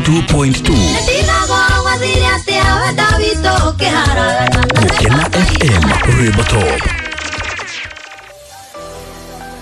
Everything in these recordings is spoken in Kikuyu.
92.2. Gũkena FM, rwĩmbo top.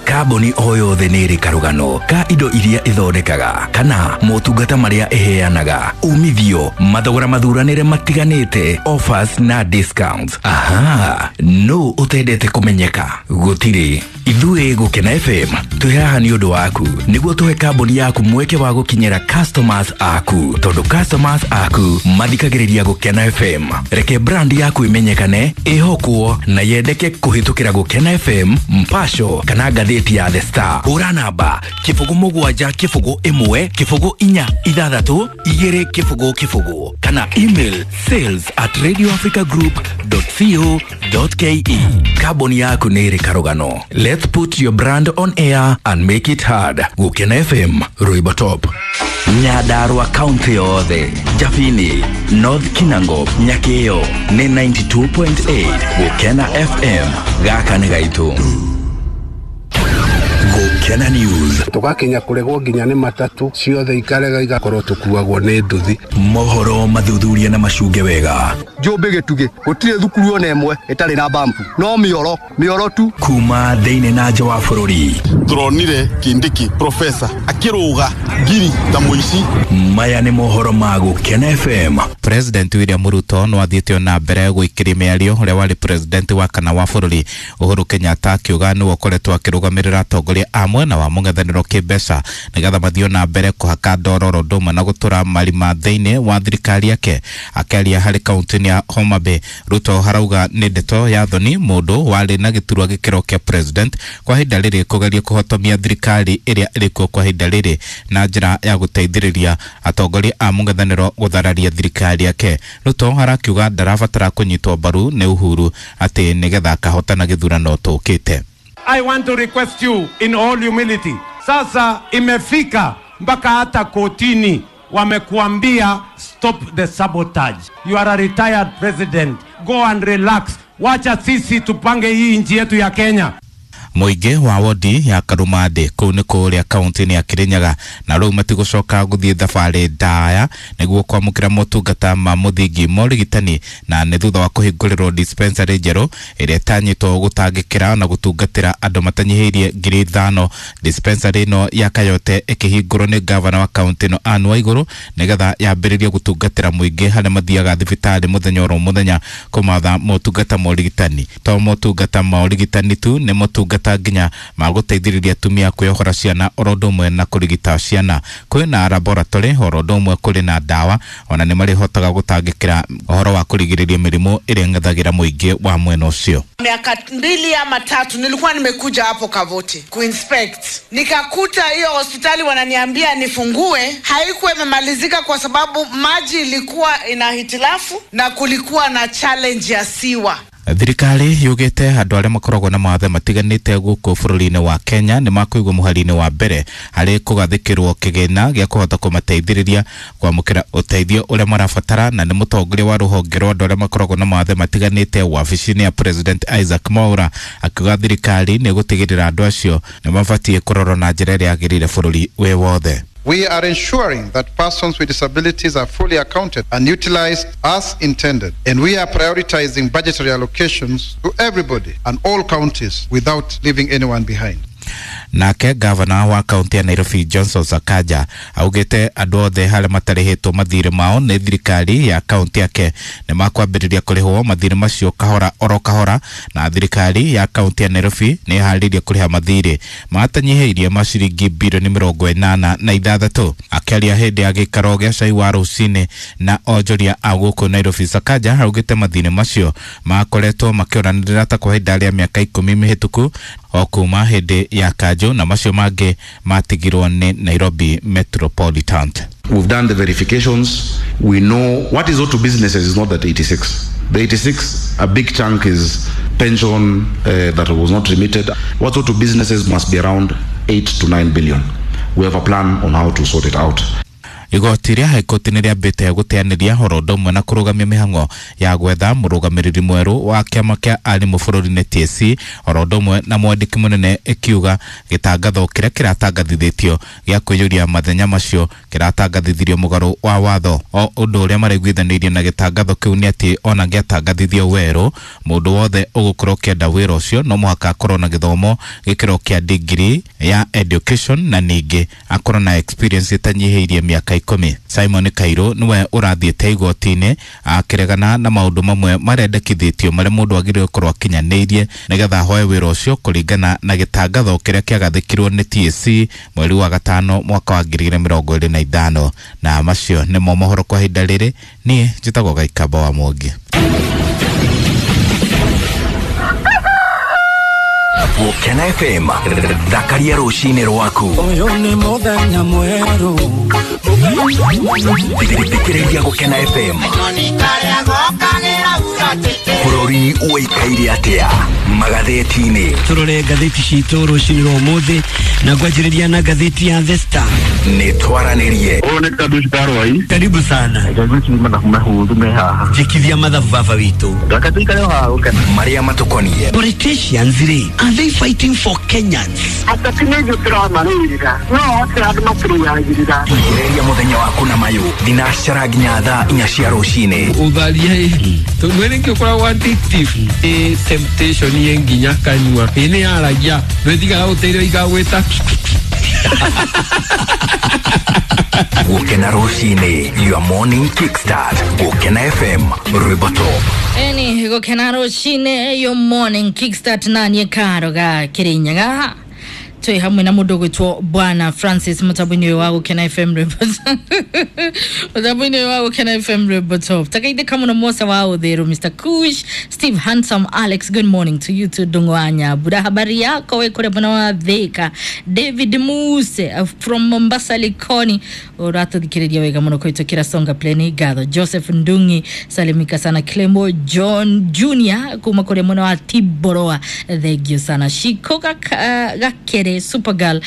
Kambuni o yothe nĩ ĩrĩ karũgano ka indo iria ĩthondekaga kana motungata marĩa ĩheanaga, umithio, mathogora mathuranĩre matiganĩte, offers na discounts. Aha, no ũtendete kũmenyeka? Gũtirĩ. Ithuĩ Gũkena FM twĩ haha nĩ ũndũ waku, nĩguo tũhe kambuni yaku mweke wa gũkinyĩra customers aku, tondũ customers aku mathikagĩrĩria Gũkena FM. Reke brand yaku ĩmenyekane, ĩhokwo na yendeke kũhĩtũkĩra Gũkena FM, Mpasho kana ngathĩti ya The Star. Hũra namba 07 0 1 0 4 6 2 0 0 kana email sales@radioafricagroup.co.ke. Kambuni yaku nĩ ĩrĩ karũgano. Let's put your brand on air and make it hard. Gũkena FM, rwĩmbo top. Nyandarua kaunti yothe, Jabini, North Kinango, Nyakĩo nĩ 92.8 Gũkena FM. Gaka nĩ gaitũ. Gũkena News. Tũgakinya kũregwo nginya nĩ matatu ciothe ikarega, igakorwo tũkuagwo nĩ nduthi. Mohoro mathuthuria na macunge wega. Njũmbĩ gĩtugĩ gũtirĩ thukuru ona ĩmwe ĩtarĩ na bampu, no mĩoro mĩoro tu. Kuma thĩinĩ na nja wa bũrũri. Turonire Kindiki profesa akĩrũga ngiri ta mũici. Maya nĩ mohoro ma Gũkena FM. President William Ruto no athiĩte na mbere gũikĩria mĩario ũrĩa warĩ president wa kana wa bũrũri Uhuru Kenyatta, akiuga nĩwe ũkoretwo akĩrũgamĩrĩra atongoria a mwena wa mũng'ethanĩro kĩmbeca nĩgetha mathiĩ na mbere kũhaka ndoro oro ũndũ ũmwe na gũtũra marima thĩinĩ wa thirikari yake. Akĩaria harĩ kaunti-inĩ ya Homa Bay, Ruto harauga nĩ ndeto ya thoni mũndũ warĩ na gĩturwa gĩkĩro kĩa president kwa ihinda rĩrĩ kũgeria kũhotomia thirikari ĩrĩa ĩrĩkuo kwa ihinda rĩrĩ na njĩra ya gũteithĩrĩria atongoria a mũng'ethanĩro gũthararia thirikari yake. Ruto harakiuga ndarabatara kũnyitwo mbaru nĩ Uhuru atĩ nĩgetha akahotana gĩthurano tũkĩte. I want to request you in all humility. Sasa imefika mpaka hata kotini wamekuambia stop the sabotage. You are a retired president. Go and relax. Wacha sisi tupange hii nchi yetu ya Kenya. Mũingĩ wa wodi ya Karumandĩ kũu nĩ kũrĩa kaunti-inĩ ya Kirinyaga na rĩu matigũcoka gũthiĩ thabarĩ ndaya nĩguo kwamũkĩra motungata ma mũthingi ma ũrigitani, na nĩ thutha wa kũhingũrĩrwo dispensary njerũ ĩrĩa ĩtanyĩtwo gũtangĩkĩra na gũtungatĩra andũ matanyihĩirie 5,000. Dispensary ĩno ya Kayote ĩkĩhingũrwo nĩ gavana wa kaunti ĩno Anne Waigũrũ nĩgetha yambĩrĩrie gũtungatĩra mũingĩ harĩa mathiaga thibitarĩ mũthenya oro mũthenya kũmatha motungata ma ũrigitani. To motungata ma ũrigitani tu, nĩ motungata nginya ma gũteithĩrĩria atumia kwĩyohora ciana oro ũndũ ũmwe na kũrigita ciana. Kwĩna laboratory oro ũndũ ũmwe kũrĩ na ndawa, ona nĩ marĩhotaga gũtangĩkĩra ũhoro wa kũrigĩrĩria mĩrimũ ĩrĩa ĩng'ethagĩra mũingĩ wa mwena ũcio. Miaka 2 ama 3 nilikuwa nimekuja hapo Kavoti kuinspect, nikakuta hiyo hospitali wananiambia nifungue, haikuwa imemalizika kwa sababu maji ilikuwa ina hitilafu na kulikuwa na challenge ya sewer. Thirikari yugĩte andũ arĩa makoragwo na mawathe matiganĩte gũkũ bũrũri-inĩ wa Kenya nĩ makũigwo mũhari-inĩ wa mbere harĩ kũgathĩkĩrwo kĩgĩna gĩa kũhota kũmateithĩrĩria kwamũkĩra ũteithio ũrĩa marabatara. Na nĩ mũtongoria wa rũhonge rwa andũ arĩa makoragwo na mawathe matiganĩte wabici-inĩ ya President Isaac Mwaura akiuga thirikari nĩ gũtigĩrĩra andũ acio nĩ mabatiĩ kũrorwo na njĩra ĩrĩa yagĩrĩire bũrũri wĩ wothe. We are ensuring that persons with disabilities are fully accounted and utilized as intended, and we are prioritizing budgetary allocations to everybody and all counties without leaving anyone behind. Nake gavana wa kaunti ya Nairobi Johnson Sakaja augĩte andũ othe harĩa matarĩhĩtwo mathirĩ mao nĩ thirikari ya kaunti yake nĩ makwambĩrĩria kũrĩhwo mathirĩ macio kahora oro kahora, na thirikari ya kaunti ya Nairobi nĩ ĩharĩirie kũrĩha mathirĩ matanyihĩirie ma ciringi birioni 86. Akĩaria hĩndĩ ya gĩikaro gĩa cai wa rũcinĩ na onjoria a gũkũ Nairobi, Sakaja augĩte mathirĩ macio makoretwo makĩoranĩrĩra ta kwa ihinda rĩa mĩaka 10 mĩhĩtũku o kuma hĩndĩ ya kanjũ, na macio mangĩ matigirwo nĩ Nairobi Metropolitan. We've done the verifications. We know what is owed to businesses is not that 86. The 86, a big chunk is pension that was not remitted. What's owed to businesses must be around 8 to 9 billion. We have a plan on how to sort it out. Igoti rĩa High Court nĩ rĩambĩte gũteanĩria oro ũndũ ũmwe na kũrũgamia mĩhang'o ya gwetha mũrũgamĩrĩri mwerũ wa kĩama kĩa arimũ bũrũri-inĩ TSC, oro ũndũ ũmwe na mwandĩki mũnene, ĩkiuga gĩtangatho kĩrĩa kĩratangathithĩtio gĩa kwĩyũria mathenya macio kĩratangathithirio mũgarũ wa watho. O ũndũ ũrĩa maraiguithanĩirie na gĩtangatho kĩu nĩ atĩ ona gĩatangathithio werũ, mũndũ wothe ũgũkorwo ũkĩenda wĩra ũcio no mũhaka akorwo na gĩthomo gĩkĩro kĩa degree ya education na ningĩ akorwo na experience ĩtanyihĩirie mĩaka 10. Simon Kairũ nĩwe ũrathiĩte igoti-inĩ akĩregana na maũndũ mamwe marendekithĩtio marĩa mũndũ agĩrĩirwo gũkorwo akinyanĩirie nĩgetha ahoe wĩra ũcio kũringana na gĩtangatho kĩrĩa kĩagathĩkirwo nĩ TSC mweri wa 5 mwaka wa 2025. Na macio nĩmo mohoro kwa ihinda rĩrĩ. Niĩ njĩtagwo Gaikamba wa Mwangi. Gũkena FM, thakaria rũcinĩ rwaku. Ũyũ nĩ mũthenya mwerũ. Thikĩrĩria Gũkena FM. Bũrũri ũikaire atĩa magathĩti-inĩ? Tũrore ngathĩti citũ rũcinĩ rwa ũmũthĩ na ngwanjĩrĩria na ngathĩti ya The Star. Nĩ twaranĩrie. Ũyũ nĩ Kadushi Karwai. Karibu sana. Jikithia mathabu baba witũ. Reke tũikare o haha Gũkena. Marĩa matũkoniĩ. Politicians rĩ, are they fighting for Kenyans? Ateti nĩ ithuĩ tũramarũĩrĩra, no othe andũ matũrũagĩrĩra. Ithĩrĩria mũthenya waku na mayũ thinacara nginya thaa 4 cia rũcinĩ. Ũtharia tondũ nĩkĩo ũkoragwo addictive. Ĩ temptation ĩ nginya kanyua, ĩ nĩ yaragia ndwĩtigaga gũteithio igagwĩta. Gũkena rũcinĩ, your morning kickstart. Gũkena FM, rwĩmbo top. Eni gũkena rũcinĩ, your morning kickstart na niĩ Karo ga Kĩrĩnyaga. Twĩ hamwe na mũndũ ũgwĩtwo Bwana Francis mũtambo-inĩ ũyũ wa Gũkena FM rwĩmbo mũtambo-inĩ ũyũ wa Gũkena FM rwĩmbo top. Takaithĩka mũno Mosa wa Ũthĩrũ, Mr Kush, Steve Handsome, Alex, good morning to you too. Ndung'u wa Nyambura, habari yako we kũrĩa mwena wa Thika. David Muse from Mombasa Likoni, ũratũthikĩrĩria wega mũno kũhĩtũkĩra Songa Play ngatho. Joseph Ndungi, salimika sana. Clemo John Junior kuma kũrĩa mwena wa Tiboroa, thank you sana. Shiko Gakere Supergirl,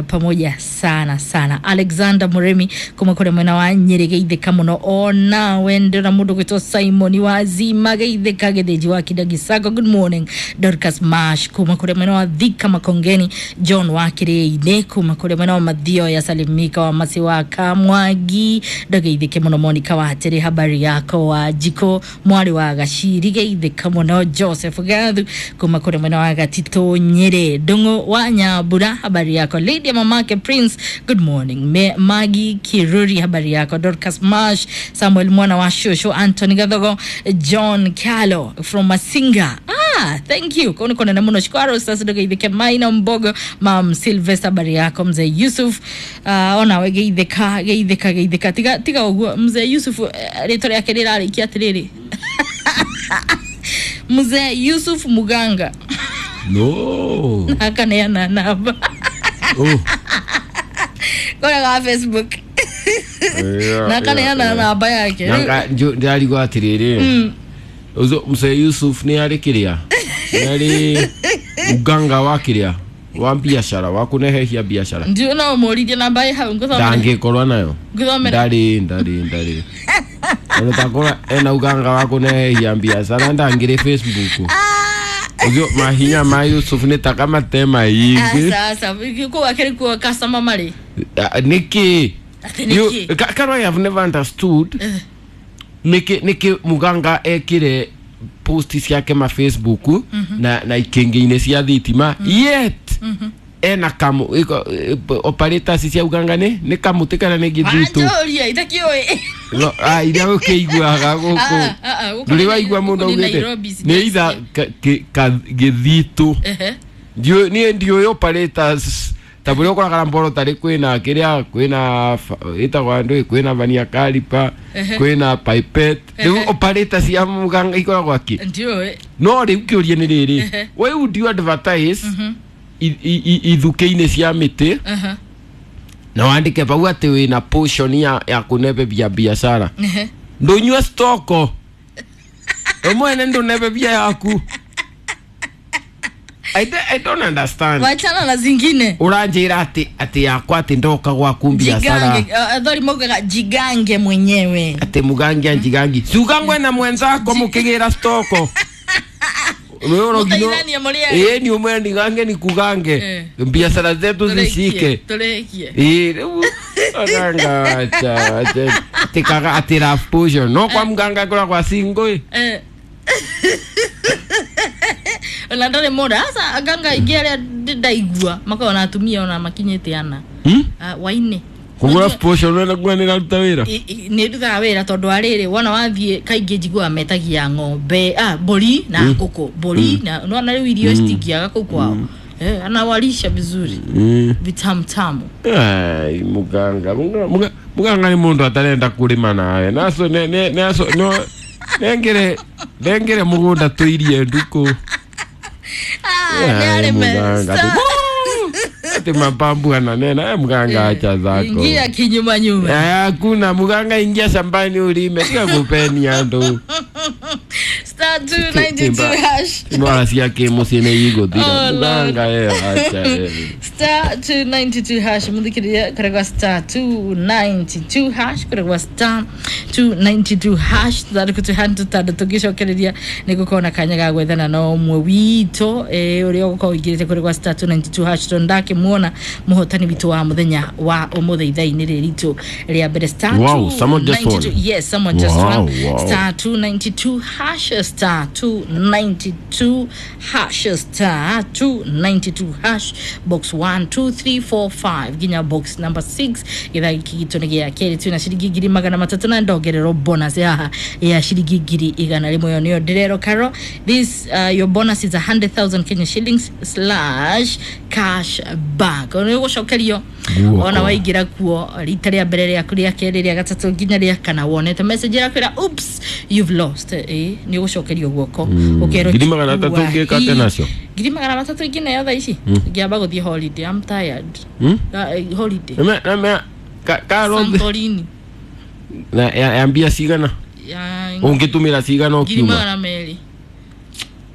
pamoja sana sana. Alexander Muremi kuma kũrĩa mwena wa Nyeri, geithĩka mũno onawe. Ndĩrona mũndũ gwĩtwo Simon Wazima, geithĩka. Gĩthĩnji wa Kindagisago, good morning. Dorcas Mash kuma kũrĩa mwena wa Thika Makongeni. John wa Kĩrĩinĩ kuma kũrĩa mwena wa Mathioya, salimika wa Masi wa Kamwangi, ndogeithĩke mũno. Monica wa Atĩrĩ, habari yako wa Jiko mwarĩ wa Gaciri, geithĩka mũno. Joseph Gathu kuma kũrĩa mwena wa Gatitũ Nyĩrĩ. Ndung'u wa Nyambura, habari yako. Lady mamake Prince, good morning. Magi Kiruri, habari yako. Dorcas Marsh, Samuel mwana wa Shosho, Anthony Gathogo, John Kyalo from Masinga. Thank you. Kono kona namuno shikwaro sasa ndogeithĩke. Maina Mbogo, Mam Sylvester, habari yako. Mzee Yusuf, ona we geithĩka geithĩka geithĩka. Tiga tiga ũguo Mzee Yusuf, rĩtwa rĩake rĩrarĩkia atĩrĩrĩ. Mzee Yusuf Muganga. No. Akaneana namba. Oh. Kora ga Facebook. Na akaneana namba yake. Nanga ndirarigwo atiriri. Uzo Mzee Yusuf ni ari kiria. Ni ari uganga wa kiria. Wa biashara wa kunehehia biashara. Ndio na umuririe namba ĩ hau nguthomere. Ndangikorwo nayo. Nguthomere. Ndari. Ono takora ena uganga wa kunehehia biashara ndangire Facebook. Uzo mahinya ma Yusuf ni takamate maingi. Sasa kuu akiri kuwa customer mari. Niki. You Karo, I have never understood. Niki muganga ekire post ciake ma Facebook na ikenge-inĩ cia thitima yet ena kamu operators cia uganga nĩ kamũtĩ kana nĩ gĩthitũ. Wanjũria itakĩũĩ. No, iria ũkĩiguaga gũkũ. Ndũrĩ waigua mũndũ augĩte nĩ either gĩthitũ. Niĩ ndiũĩ operators ta bũrĩa ũkoraga mboro tarĩ kwĩna kĩrĩa kwĩna ĩtagwo ndũĩ kwĩna vania kalipa kwĩna pipette rĩu operator cia muganga ikoragwo akĩ ndiũĩ. No rĩu kĩũria nĩ rĩrĩ, why would you advertise ithukĩ-inĩ cia mĩtĩ na wandĩke pau atĩ wĩna potion ya kũnebebia biacara? Ndũnyue stoko we mwene ndũnebebia yaku. I don't understand. Wachana na zingine. Uranjira ati yakwa ati ndoka gwaku biashara. Athori maugaga jigange mwenyewe. Ati mugange anjigangi. Sugangwe na mwenzako mukigira stoko. Wewe ni umwe nigange nikugange. Biashara zetu zishike. Turekie. Aganga acha acha. Tikaga ati love potion. No kwa mganga kula kwa singo. Ona ndare mora asa aganga ingĩ arĩa ndaigua makoragwo na atumia ona makinyĩte ana waine kugura potion wena gwa nĩ raruta wĩra nĩ ndutaga wĩra tondũ wa rĩrĩ wona wathiĩ kaingĩ njiguaga metagia ng'ombe mbũri na ngũkũ mbũri na nona rĩu irio citingĩaga kũu kwao. Anawalisha vizuri vitamtamu. Ai muganga muganga nĩ mũndũ atarenda kũrĩma nawe naso ne naso no nengere mugunda tuirie nduku. Ati mapambu ananena muganga acha zako. Ingia kinyuma nyuma. Hakuna muganga, ingia shambani ulime tika kupeni andu. Star 292 hash. Mwala siya ke musine yigo dira muganga acha. Star 292 hash muthikiria kuregwa star 292 hash kuregwa star 292 hash thari kutu handu tandũ tũngĩcokereria nĩ gũkorwo na kanya ga gwethana na ũmwe witũ ũrĩa ũgũkorwo ũingĩrĩte kuregwa star 292 hash tondũ ndakĩmuona mũhotani witũ wa mũthenya wa ũmũthĩ ithaa-inĩ rĩrĩ ritũ rĩa mbere star 292. Yes, someone just won. Star 292 hash star 292 hash star 292 hash box 1 2 3 4 5 ginya box number 6 githaa gĩkĩ gitũ nĩ gĩa kerĩ twĩna ciringi 300 na ndongererwo bonus haha ya ciringi 100,000 ĩyo nĩyo ndĩrerwo Karo. This your bonus is 100,000 Kenya shillings / cash back. Ona ũgũcokerio ona waingĩra kuo rita rĩa mbere rĩaku rĩa kerĩ rĩa gatatũ nginya rĩa kana wonete message ĩrakwĩra oops you've lost nĩ ũgũcokerio guoko ũkerwo 300 ũngĩka atĩa nacio 300 ingĩneo thaa ici ngĩamba gũthiĩ holiday. I'm tired. Holiday Santorini na ya mbia cigana ũngĩtũmĩra cigana ũkiuma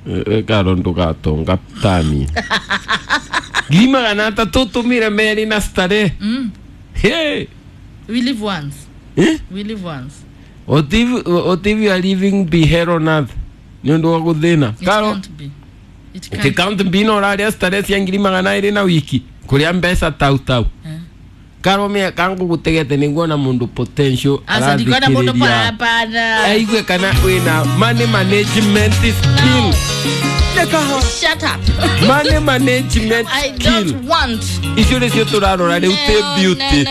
200. Karo ndũgatonga tani 300 tũtũmĩre merĩ na starehe. Hey, we live once. We live once. What if you are living be here on earth? Nĩ ũndũ wa gũthĩna. Karo it can't be no raria starehe cia 200 na wiki kũrĩa mbeca tau tau. Karo me kangu gutegete ninguona mundu potential arathikiriria aigue kana wina money management skill. Shut up. Money management I skill. don't want. Icio nĩcio tũrarora rĩu ti beauty.